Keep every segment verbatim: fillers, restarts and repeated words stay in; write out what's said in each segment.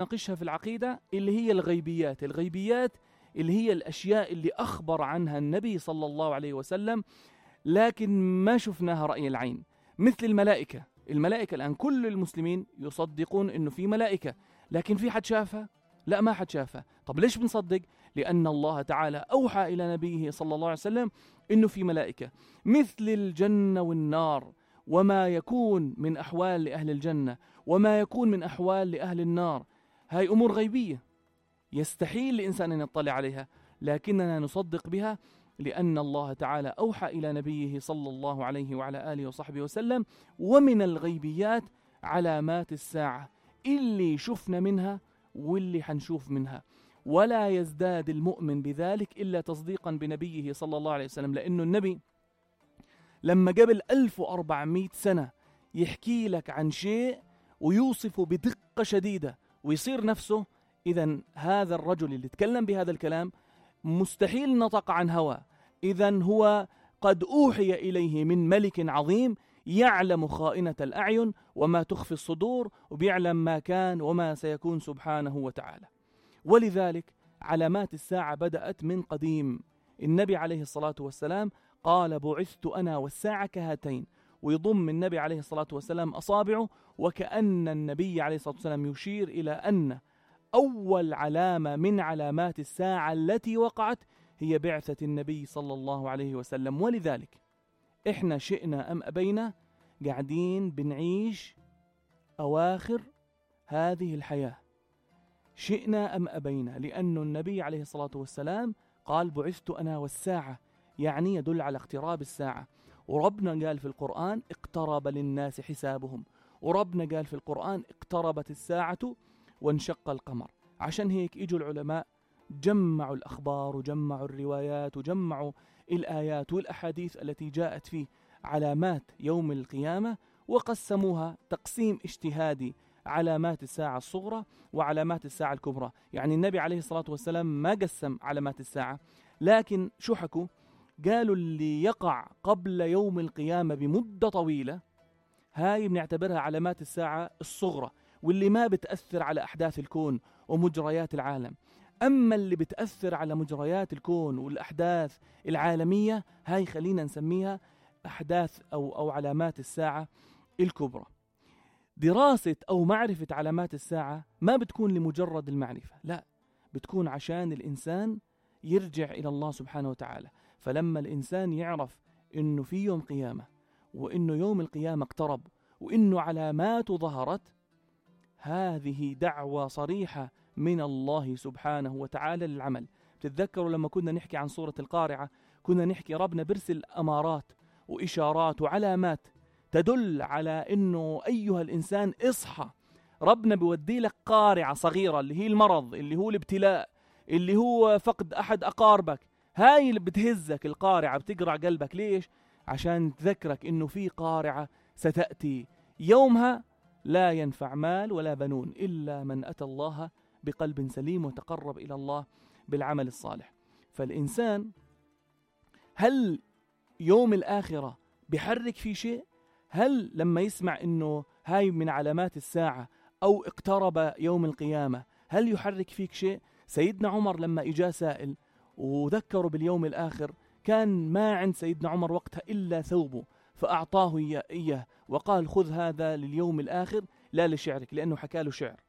نناقشها في العقيدة اللي هي الغيبيات. الغيبيات اللي هي الأشياء اللي أخبر عنها النبي صلى الله عليه وسلم لكن ما شفناها رأي العين، مثل الملائكة. الملائكة الآن كل المسلمين يصدقون إنه في ملائكة، لكن في حد شافها؟ لا، ما حد شافها. طب ليش بنصدق؟ لأن الله تعالى أوحى إلى نبيه صلى الله عليه وسلم إنه في ملائكة. مثل الجنة والنار، وما يكون من أحوال لأهل الجنة وما يكون من أحوال لأهل النار، هاي أمور غيبية يستحيل لإنسان أن يطلع عليها، لكننا نصدق بها لأن الله تعالى أوحى إلى نبيه صلى الله عليه وعلى آله وصحبه وسلم. ومن الغيبيات علامات الساعة اللي شفنا منها واللي حنشوف منها، ولا يزداد المؤمن بذلك إلا تصديقا بنبيه صلى الله عليه وسلم. لأنه النبي لما قبل ألف وأربعمائة سنة يحكي لك عن شيء ويوصفه بدقة شديدة ويصير نفسه، إذن هذا الرجل اللي تكلم بهذا الكلام مستحيل نطق عن هوى، إذن هو قد أوحي إليه من ملك عظيم يعلم خائنة الأعين وما تخفي الصدور، وبيعلم ما كان وما سيكون سبحانه وتعالى. ولذلك علامات الساعة بدأت من قديم. النبي عليه الصلاة والسلام قال بعثت أنا والساعة كهاتين، ويضم النبي عليه الصلاة والسلام أصابعه، وكأن النبي عليه الصلاة والسلام يشير إلى أن أول علامة من علامات الساعة التي وقعت هي بعثة النبي صلى الله عليه وسلم. ولذلك إحنا شئنا أم أبينا قاعدين بنعيش أواخر هذه الحياة، شئنا أم أبينا، لأن النبي عليه الصلاة والسلام قال بعثت أنا والساعة، يعني يدل على اقتراب الساعة. وربنا قال في القرآن اقترب للناس حسابهم، وربنا قال في القرآن اقتربت الساعة وانشق القمر. عشان هيك إجوا العلماء جمعوا الأخبار وجمعوا الروايات وجمعوا الآيات والأحاديث التي جاءت فيه علامات يوم القيامة، وقسموها تقسيم اجتهادي: علامات الساعة الصغرى وعلامات الساعة الكبرى. يعني النبي عليه الصلاة والسلام ما قسم علامات الساعة، لكن شو حكوا؟ قالوا اللي يقع قبل يوم القيامة بمدة طويلة هاي بنعتبرها علامات الساعة الصغرى، واللي ما بتأثر على أحداث الكون ومجريات العالم. أما اللي بتأثر على مجريات الكون والأحداث العالمية هاي خلينا نسميها أحداث أو, أو علامات الساعة الكبرى. دراسة أو معرفة علامات الساعة ما بتكون لمجرد المعرفة، لا، بتكون عشان الإنسان يرجع إلى الله سبحانه وتعالى. فلما الإنسان يعرف إنه في يوم قيامة، وإنه يوم القيامة اقترب، وإنه علاماته ظهرت، هذه دعوة صريحة من الله سبحانه وتعالى للعمل. بتتذكروا لما كنا نحكي عن سورة القارعة كنا نحكي ربنا برسل أمارات وإشارات وعلامات تدل على إنه أيها الإنسان اصحى. ربنا بيودي لك قارعة صغيرة اللي هي المرض، اللي هو الابتلاء، اللي هو فقد أحد أقاربك. هاي اللي بتهزك القارعة، بتقرع قلبك. ليش؟ عشان تذكرك إنه في قارعة ستأتي يومها لا ينفع مال ولا بنون إلا من أتى الله بقلب سليم وتقرب إلى الله بالعمل الصالح. فالإنسان هل يوم الآخرة بيحرك في شيء؟ هل لما يسمع إنه هاي من علامات الساعة أو اقترب يوم القيامة هل يحرك فيك شيء؟ سيدنا عمر لما إجا سائل وذكروا باليوم الآخر كان ما عند سيدنا عمر وقتها إلا ثوبه، فأعطاه إياه وقال خذ هذا لليوم الآخر لا لشعرك، لأنه حكى له شعر.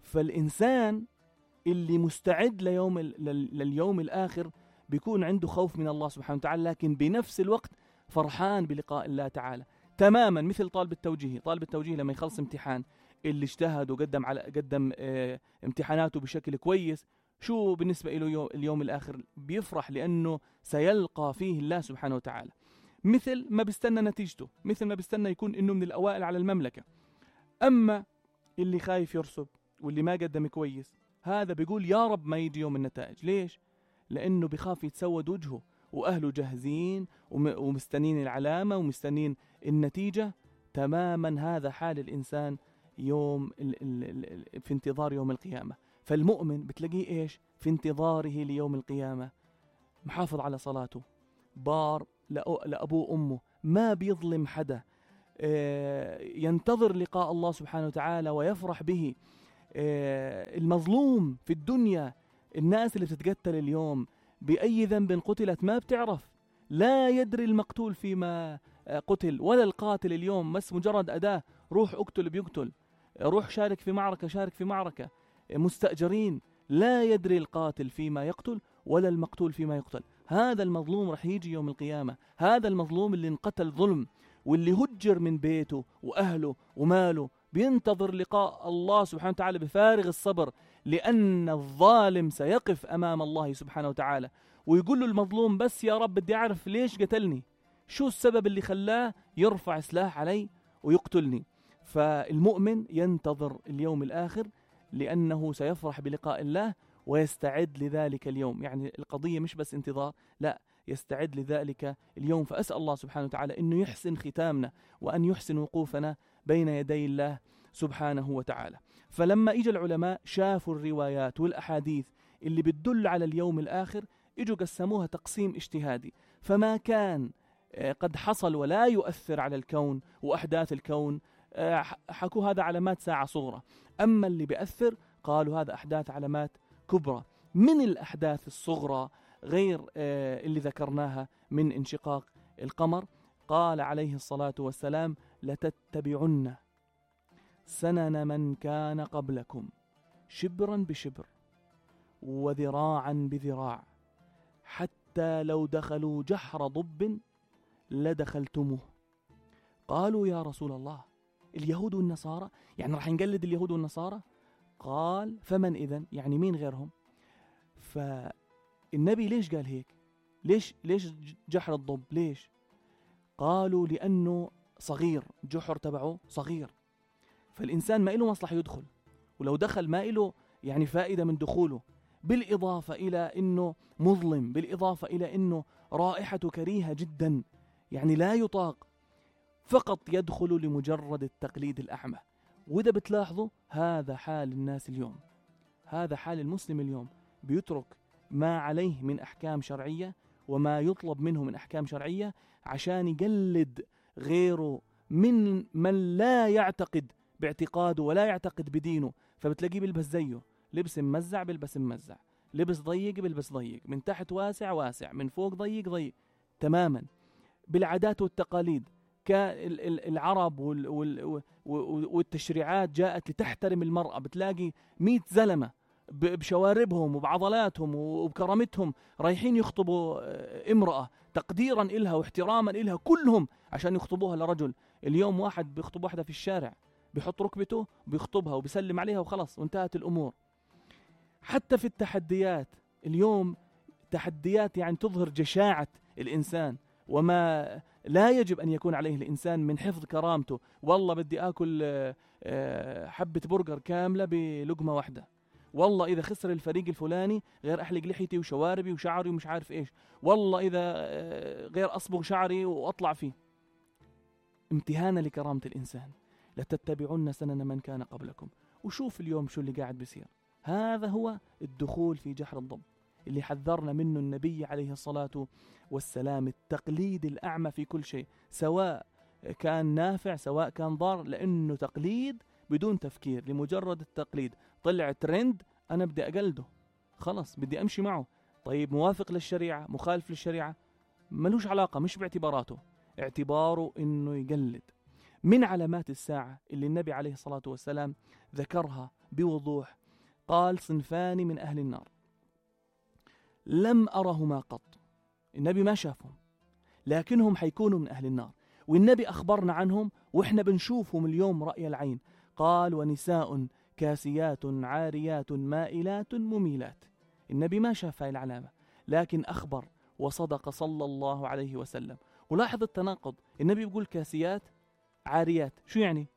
فالإنسان اللي مستعد ليوم لليوم الآخر بيكون عنده خوف من الله سبحانه وتعالى، لكن بنفس الوقت فرحان بلقاء الله تعالى تماما. مثل طالب التوجيه، طالب التوجيه لما يخلص امتحان اللي اجتهد وقدم على قدم اه امتحاناته بشكل كويس، شو بالنسبة له اليوم الآخر؟ بيفرح لأنه سيلقى فيه الله سبحانه وتعالى. مثل ما بيستنى نتيجته، مثل ما بيستنى يكون إنه من الأوائل على المملكة. أما اللي خايف يرسب واللي ما قدم كويس هذا بيقول يا رب ما يجي يوم النتائج. ليش؟ لأنه بخاف يتسود وجهه وأهله جاهزين ومستنين العلامة ومستنين النتيجة. تماما هذا حال الإنسان يوم ال ال ال في انتظار يوم القيامة. فالمؤمن بتلاقيه إيش؟ في انتظاره ليوم القيامة محافظ على صلاته، بار لأبوه وأمه، ما بيظلم حدا، ينتظر لقاء الله سبحانه وتعالى ويفرح به، المظلوم في الدنيا، الناس اللي بتتقتل اليوم بأي ذنب قتلت ما بتعرف، لا يدري المقتول فيما قتل ولا القاتل اليوم، بس مجرد أداة، روح اقتل بيقتل، روح شارك في معركة شارك في معركة، مستأجرين، لا يدري القاتل فيما يقتل ولا المقتول فيما يقتل. هذا المظلوم رح يجي يوم القيامة، هذا المظلوم اللي انقتل ظلم واللي هجر من بيته وأهله وماله، بينتظر لقاء الله سبحانه وتعالى بفارغ الصبر، لأن الظالم سيقف أمام الله سبحانه وتعالى ويقول له المظلوم بس يا رب بدي أعرف ليش قتلني، شو السبب اللي خلاه يرفع سلاح علي ويقتلني. فالمؤمن ينتظر اليوم الآخر لأنه سيفرح بلقاء الله ويستعد لذلك اليوم. يعني القضية مش بس انتظار، لا، يستعد لذلك اليوم. فأسأل الله سبحانه وتعالى أنه يحسن ختامنا وأن يحسن وقوفنا بين يدي الله سبحانه وتعالى. فلما إجا العلماء شافوا الروايات والأحاديث اللي بتدل على اليوم الآخر، إجوا قسموها تقسيم اجتهادي، فما كان قد حصل ولا يؤثر على الكون وأحداث الكون حكوا هذا علامات ساعة صغرى، أما اللي بيأثر قالوا هذا أحداث علامات كبرى. من الأحداث الصغرى غير اللي ذكرناها من انشقاق القمر، قال عليه الصلاة والسلام لتتبعن سنن من كان قبلكم شبرا بشبر وذراعا بذراع حتى لو دخلوا جحر ضب لدخلتموه. قالوا يا رسول الله اليهود والنصارى، يعني رح نقلد اليهود والنصارى؟ قال فمن إذن، يعني مين غيرهم؟ فالنبي ليش قال هيك؟ ليش ليش جحر الضب؟ ليش؟ قالوا لأنه صغير، جحر تبعه صغير، فالإنسان ما إله مصلحة يدخل، ولو دخل ما إله يعني فائدة من دخوله، بالإضافة إلى أنه مظلم، بالإضافة إلى أنه رائحته كريهة جدا، يعني لا يطاق، فقط يدخل لمجرد التقليد الأعمى. وإذا بتلاحظوا هذا حال الناس اليوم، هذا حال المسلم اليوم، بيترك ما عليه من أحكام شرعية وما يطلب منه من أحكام شرعية عشان يقلد غيره من من لا يعتقد باعتقاده ولا يعتقد بدينه، فبتلاقيه بيلبس زيه، لبس ممزع بيلبس ممزع، لبس ضيق بيلبس ضيق، من تحت واسع واسع، من فوق ضيق ضيق تماما. بالعادات والتقاليد كالعرب والتشريعات جاءت لتحترم المرأة، بتلاقي مئة زلمة بشواربهم وبعضلاتهم وبكرامتهم رايحين يخطبوا امرأة تقديرا إلها واحتراما إلها، كلهم عشان يخطبوها لرجل. اليوم واحد بيخطب واحدة في الشارع، بيحط ركبته بيخطبها وبيسلم عليها وخلاص وانتهت الأمور. حتى في التحديات اليوم، تحديات يعني تظهر جشاعة الإنسان وما لا يجب أن يكون عليه الإنسان من حفظ كرامته. والله بدي آكل حبة برجر كاملة بلقمة واحدة، والله إذا خسر الفريق الفلاني غير أحلق لحيتي وشواربي وشعري ومش عارف إيش، والله إذا غير أصبغ شعري وأطلع فيه. امتهانا لكرامة الإنسان. لتتبعن سنن من كان قبلكم. وشوف اليوم شو اللي قاعد بيصير. هذا هو الدخول في جحر الضب اللي حذرنا منه النبي عليه الصلاة والسلام، التقليد الأعمى في كل شيء، سواء كان نافع سواء كان ضار، لأنه تقليد بدون تفكير، لمجرد التقليد. طلع ترند أنا بدي أقلده، خلص بدي أمشي معه. طيب موافق للشريعة مخالف للشريعة ملوش علاقة، مش باعتباراته، اعتباره إنه يقلد. من علامات الساعة اللي النبي عليه الصلاة والسلام ذكرها بوضوح، قال صنفان من أهل النار لم أرهما قط. النبي ما شافهم لكنهم حيكونوا من أهل النار، والنبي أخبرنا عنهم وإحنا بنشوفهم اليوم رأي العين. قال ونساء كاسيات عاريات مائلات مميلات. النبي ما شاف هاي العلامة لكن أخبر وصدق صلى الله عليه وسلم. ولاحظ التناقض، النبي بيقول كاسيات عاريات، شو يعني؟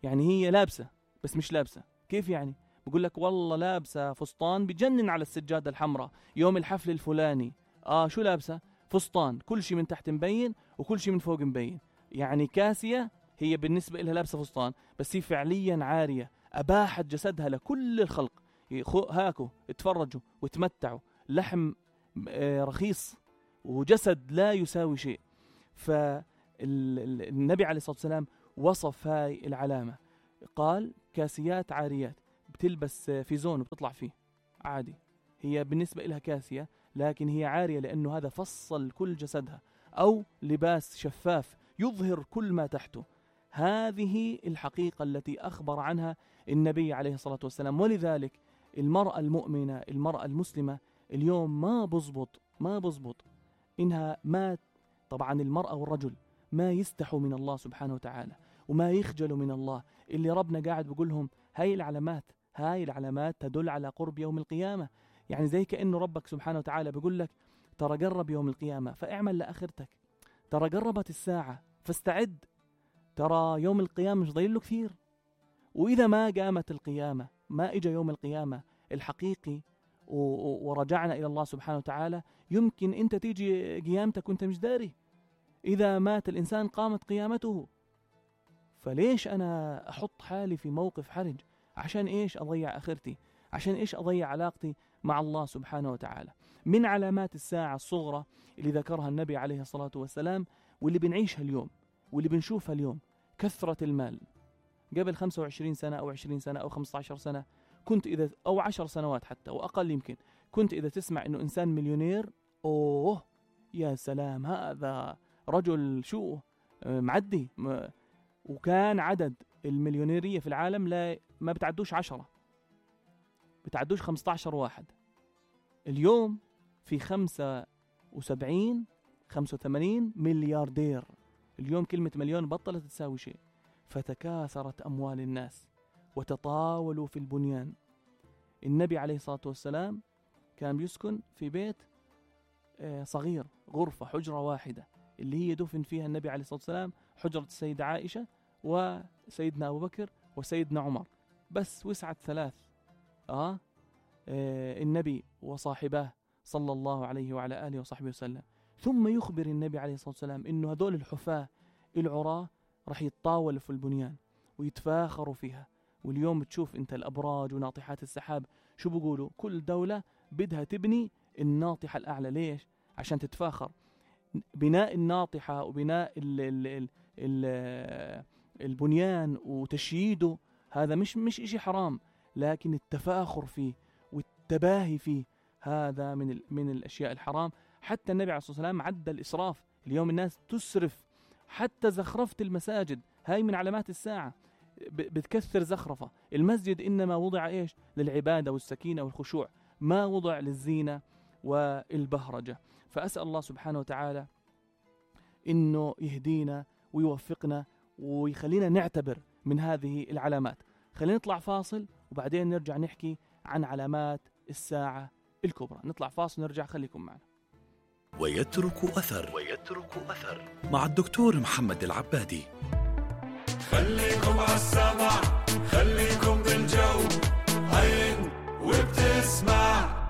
يعني هي لابسة بس مش لابسة. كيف يعني؟ بقول لك والله لابسة فستان بجنن على السجادة الحمراء يوم الحفل الفلاني. آه شو لابسة؟ فستان، كل شيء من تحت مبين وكل شيء من فوق مبين. يعني كاسية هي بالنسبة إلها لابسة فستان، بس هي فعليا عارية، أباحت جسدها لكل الخلق. هاكو اتفرجوا وتمتعوا، لحم رخيص وجسد لا يساوي شيء. فالنبي عليه الصلاة والسلام وصف هاي العلامة، قال كاسيات عاريات، بتلبس فيزون وبتطلع فيه عادي، هي بالنسبة إلها كاسية لكن هي عارية لأنه هذا فصل كل جسدها، أو لباس شفاف يظهر كل ما تحته. هذه الحقيقة التي أخبر عنها النبي عليه الصلاة والسلام. ولذلك المرأة المؤمنة، المرأة المسلمة اليوم ما بزبط ما بزبط إنها ما طبعا المرأة والرجل ما يستحوا من الله سبحانه وتعالى وما يخجلوا من الله، اللي ربنا قاعد بيقولهم هاي العلامات هاي العلامات تدل على قرب يوم القيامة. يعني زي كأنه ربك سبحانه وتعالى بيقول لك ترى قرب يوم القيامة فاعمل لآخرتك، ترى قربت الساعة فاستعد، ترى يوم القيامة مش ضايل له كثير. وإذا ما قامت القيامة، ما إجا يوم القيامة الحقيقي ورجعنا إلى الله سبحانه وتعالى، يمكن أنت تيجي قيامتك وأنت مش داري. إذا مات الإنسان قامت قيامته، فليش أنا أحط حالي في موقف حرج؟ عشان إيش أضيع آخرتي؟ عشان إيش أضيع علاقتي مع الله سبحانه وتعالى؟ من علامات الساعة الصغرى اللي ذكرها النبي عليه الصلاة والسلام واللي بنعيشها اليوم واللي بنشوفها اليوم كثرة المال. قبل خمسة وعشرين سنة أو عشرين سنة أو خمسة عشر سنة كنت إذا أو عشر سنوات حتى وأقل يمكن، كنت إذا تسمع إنه إنسان مليونير، أوه يا سلام هذا رجل شو معدي. وكان عدد المليونيرية في العالم لا ما بتعدوش عشرة، بتعدوش خمسة عشر واحد. اليوم في خمسة وسبعين خمسة وثمانين ملياردير. اليوم كلمة مليون بطلت تساوي شيء. فتكاثرت أموال الناس وتطاولوا في البنيان. النبي عليه الصلاة والسلام كان بيسكن في بيت صغير، غرفة حجرة واحدة اللي هي دفن فيها النبي عليه الصلاة والسلام، حجرة السيدة عائشة وسيدنا أبو بكر وسيدنا عمر، بس وسعت ثلاث آه, آه النبي وصاحباه صلى الله عليه وعلى آله وصحبه وسلم. ثم يخبر النبي عليه الصلاة والسلام إنه هذول الحفاة العراة رح يتطاولوا في البنيان ويتفاخروا فيها. واليوم بتشوف انت الأبراج وناطحات السحاب شو بيقولوا؟ كل دولة بدها تبني الناطحة الأعلى. ليش؟ عشان تتفاخر. بناء الناطحة وبناء ال ال ال ال البنيان وتشييده هذا مش مش إشي حرام، لكن التفاخر فيه والتباهي فيه هذا من من الأشياء الحرام. حتى النبي عليه الصلاة والسلام عدى الإسراف. اليوم الناس تسرف، حتى زخرفة المساجد هاي من علامات الساعة، بتكثر زخرفة. المسجد إنما وضع إيش؟ للعبادة والسكينة والخشوع، ما وضع للزينة والبهرجة. فأسأل الله سبحانه وتعالى إنه يهدينا ويوفقنا ويخلينا نعتبر من هذه العلامات. خلينا نطلع فاصل وبعدين نرجع نحكي عن علامات الساعة الكبرى. نطلع فاصل ونرجع، خليكم معنا. ويترك أثر ويترك أثر مع الدكتور محمد العبادي. خليكم عالسمع، خليكم بالجو، هين وبتسمع.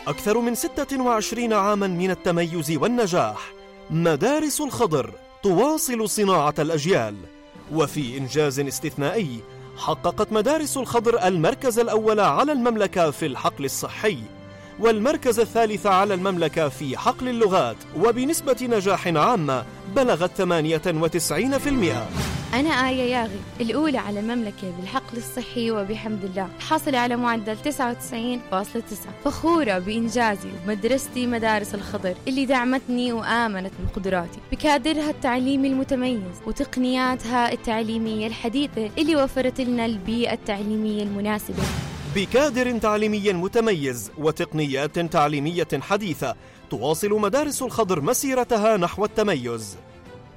أكثر من ستة وعشرين عاما من التميز والنجاح، مدارس الخضر تواصل صناعة الأجيال. وفي إنجاز استثنائي حققت مدارس الخضر المركز الأول على المملكة في الحقل الصحي، والمركز الثالث على المملكة في حقل اللغات، وبنسبة نجاح عامة بلغت ثمانية وتسعين بالمئة. أنا آية ياغي الأولى على المملكة بالحقل الصحي وبحمد الله، حاصلة على معدل تسعة وتسعين فاصلة تسعة. فخورة بإنجازي ومدرستي مدارس الخضر اللي دعمتني وآمنت بقدراتي بكادرها التعليمي المتميز وتقنياتها التعليمية الحديثة اللي وفرت لنا البيئة التعليمية المناسبة. بكادر تعليمي متميز وتقنيات تعليمية حديثة تواصل مدارس الخضر مسيرتها نحو التميز.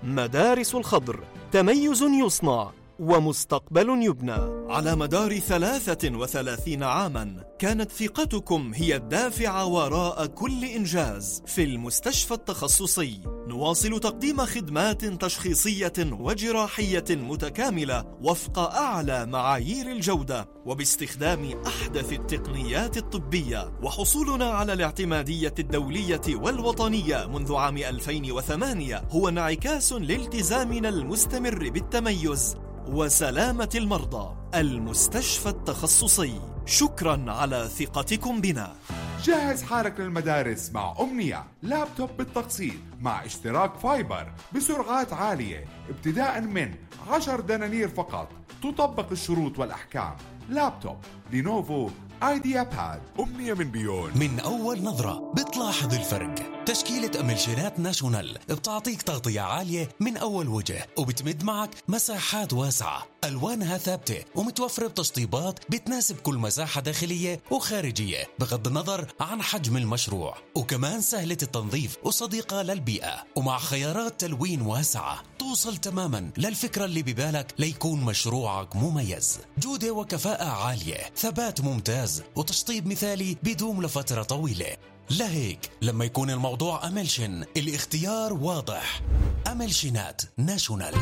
مدارس الخضر، تميز يصنع ومستقبل يبنى. على مدار ثلاثة وثلاثين عاما كانت ثقتكم هي الدافع وراء كل إنجاز. في المستشفى التخصصي نواصل تقديم خدمات تشخيصية وجراحية متكاملة وفق أعلى معايير الجودة وباستخدام أحدث التقنيات الطبية، وحصولنا على الاعتمادية الدولية والوطنية منذ عام ألفين وثمانية هو انعكاس لالتزامنا المستمر بالتميز وسلامة المرضى. المستشفى التخصصي، شكرا على ثقتكم بنا. جهز حالك للمدارس مع أمنية، لابتوب بالتقسيط مع اشتراك فايبر بسرعات عالية ابتداء من عشر دنانير فقط تطبق الشروط والأحكام. لابتوب لينوفو ايديا باد. أمنية من بيون. من أول نظرة بتلاحظ الفرق. تشكيلة أملشينات ناشونال بتعطيك تغطية عالية من أول وجه، وبتمد معك مساحات واسعة، ألوانها ثابتة ومتوفرة بتشطيبات بتناسب كل مساحة داخلية وخارجية بغض النظر عن حجم المشروع، وكمان سهلة التنظيف وصديقة للبيئة، ومع خيارات تلوين واسعة توصل تماما للفكرة اللي ببالك ليكون مشروعك مميز. جودة وكفاءة عالية، ثبات ممتاز، وتشطيب مثالي بيدوم لفترة طويلة. لهيك لما يكون الموضوع أملشن الاختيار واضح. أملشنات ناشونال.